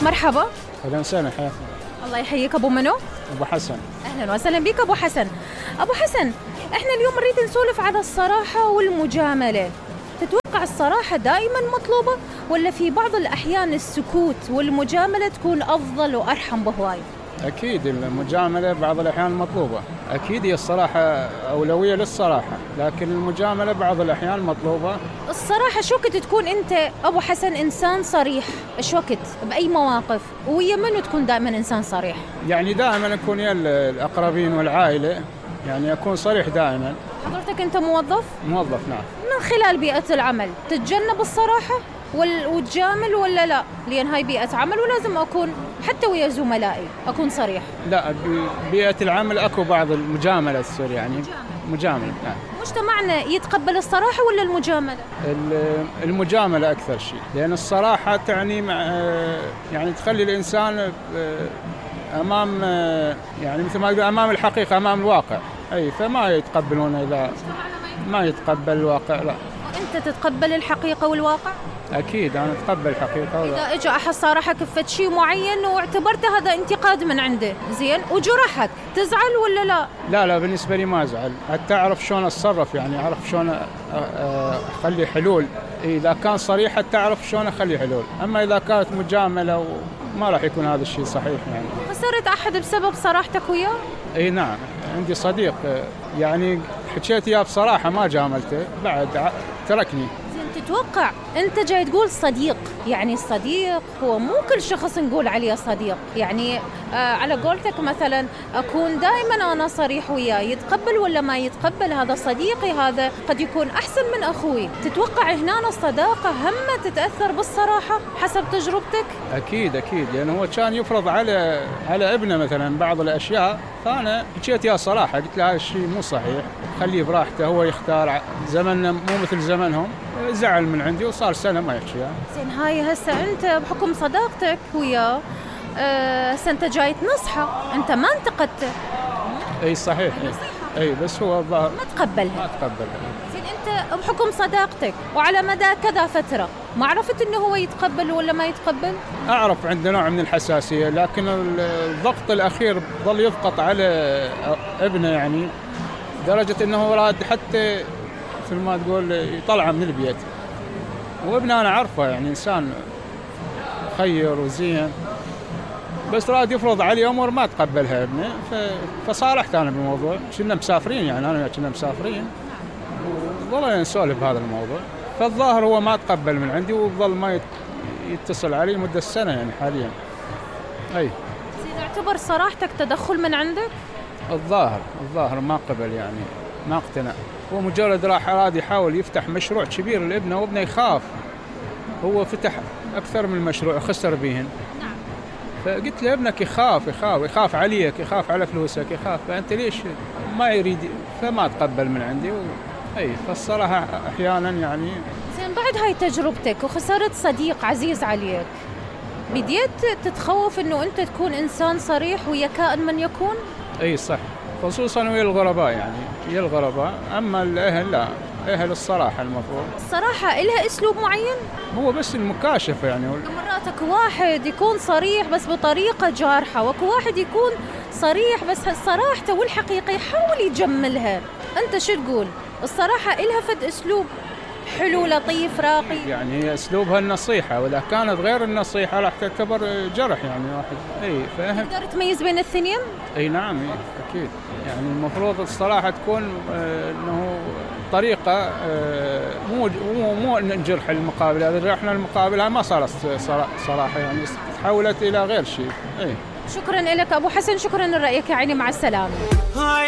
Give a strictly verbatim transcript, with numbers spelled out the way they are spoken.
مرحبا. اهلا وسهلا، حياكم. الله يحييك. ابو منو؟ ابو حسن. اهلا وسهلا بك ابو حسن. ابو حسن، احنا اليوم نريد نسولف على الصراحه والمجامله. تتوقع الصراحه دائما مطلوبه ولا في بعض الاحيان السكوت والمجامله تكون افضل وارحم بهواي؟ اكيد المجامله بعض الاحيان مطلوبه، اكيد هي الصراحه اولويه للصراحه، لكن المجامله بعض الاحيان مطلوبه. الصراحه شو وقت تكون انت ابو حسن انسان صريح؟ ايش وقت باي مواقف؟ ويا منو تكون دائما انسان صريح؟ يعني دائما اكون يا الاقربين والعائله، يعني اكون صريح دائما. حضرتك انت موظف؟ موظف نعم. من خلال بيئه العمل تتجنب الصراحه وتجامل ولا لا؟ لأن هاي بيئة عمل ولازم أكون حتى ويا زملائي أكون صريح. لا، ببيئة العمل أكو بعض المجاملة تصير، يعني مجاملة. نعم. مجتمعنا يتقبل الصراحة ولا المجاملة؟ المجاملة أكثر شيء، لأن الصراحة تعني مع يعني تخلي الإنسان أمام، يعني مثل ما يقول أمام الحقيقة، أمام الواقع. أي فما يتقبلون إذا ما يتقبل الواقع. لا. أنت تتقبل الحقيقة والواقع؟ أكيد أنا أتقبل الحقيقة والواقع. إذا إجا أحد صارحك بفد شيء معين واعتبرته هذا انتقاد من عنده، زين، وجرحك، تزعل ولا لا؟ لا لا، بالنسبة لي ما أزعل، حتى أعرف شلون أتصرف، يعني أعرف شلون أخلي حلول. إذا كان صريح حتى أعرف شلون أخلي حلول، أما إذا كانت مجاملة ما راح يكون هذا الشيء صحيح. يعني خسرت أحد بسبب صراحتك وياه؟ إي نعم، عندي صديق يعني حكيت إياه بصراحة ما جاملته، بعد تركني. زين، تتوقع أنت جاي تقول صديق، يعني الصديق هو مو كل شخص نقول عليه صديق، يعني آه على قولتك مثلا أكون دائما أنا صريح وياه، يتقبل ولا ما يتقبل هذا صديقي، هذا قد يكون أحسن من أخوي. تتوقع هنا الصداقة هم تتأثر بالصراحة حسب تجربتك؟ أكيد أكيد، لأنه هو كان يفرض على على ابنه مثلا بعض الأشياء، فأنا حكيت يا صراحة، قلت له هذا الشيء مو صحيح، خليه براحته، هو يختار، زمننا مو مثل زمنهم. زعل من عندي وصار سنة ما يحكي. يعني زين، هاي هسه أنت بحكم صداقتك وياه هسه أنت جاي تنصحه، أنت ما انتقدته. أي صحيح. أي, أي بس هو الظاهر ما تقبلها. ما تقبلها. زين، أنت بحكم صداقتك وعلى مدى كذا فترة ما عرفت إنه هو يتقبل ولا ما يتقبل؟ أعرف عنده نوع من الحساسية، لكن الضغط الأخير ظل يضغط على ابنه، يعني درجة إنه راد حتى مثل ما تقول يطلعه من البيت. وابنه أنا عارفه يعني إنسان خير وزين، بس راد يفرض عليه أمور ما تقبلها ابنه، فصالحت أنا بالموضوع. كنا مسافرين، يعني أنا كنا مسافرين وظلنا نسولف بهذا الموضوع، فالظاهر هو ما تقبل من عندي وظل ما يتصل علي مدة سنة يعني حاليا. أي إذا اعتبر صراحتك تدخل من عندك؟ الظاهر الظاهر ما قبل، يعني ما اقتنع. هو مجرد راح راد يحاول يفتح مشروع كبير لابنه، وابنه يخاف. هو فتح أكثر من مشروع خسر بيهن. نعم. فقلت له ابنك يخاف يخاف يخاف عليك، يخاف على فلوسك، يخاف، فأنت ليش ما يريد؟ فما تقبل من عندي. و... أي فالصراحة أحيانا يعني. زين، بعد هاي تجربتك وخسرت صديق عزيز عليك، بديت تتخوف إنه أنت تكون إنسان صريح ويا كائن من يكون؟ أي صح، خصوصا ويا الغرباء، يعني ويا الغرباء. أما الأهل لا، أهل الصراحة المفروض. الصراحة إلها أسلوب معين؟ هو بس المكاشفة يعني. مرات اكو واحد يكون صريح بس بطريقة جارحة، واكو واحد يكون صريح بس صراحته والحقيقة يحاول يجملها. أنت شو تقول؟ الصراحة إلها فد أسلوب حلو لطيف راقي؟ يعني هي أسلوبها النصيحة، وإذا كانت غير النصيحة راح تعتبر جرح، يعني واحد. أي فاهم. تقدر تميز بين الاثنين؟ أي نعم أكيد. يعني المفروض الصراحة تكون آه إنه طريقة آه مو مو مو نجرح المقابل، هذا جرحنا المقابل ما صارت صراحة، يعني تحولت إلى غير شيء. أي شكرا لك أبو حسن، شكرا لرأيك يا عيني، مع السلامة.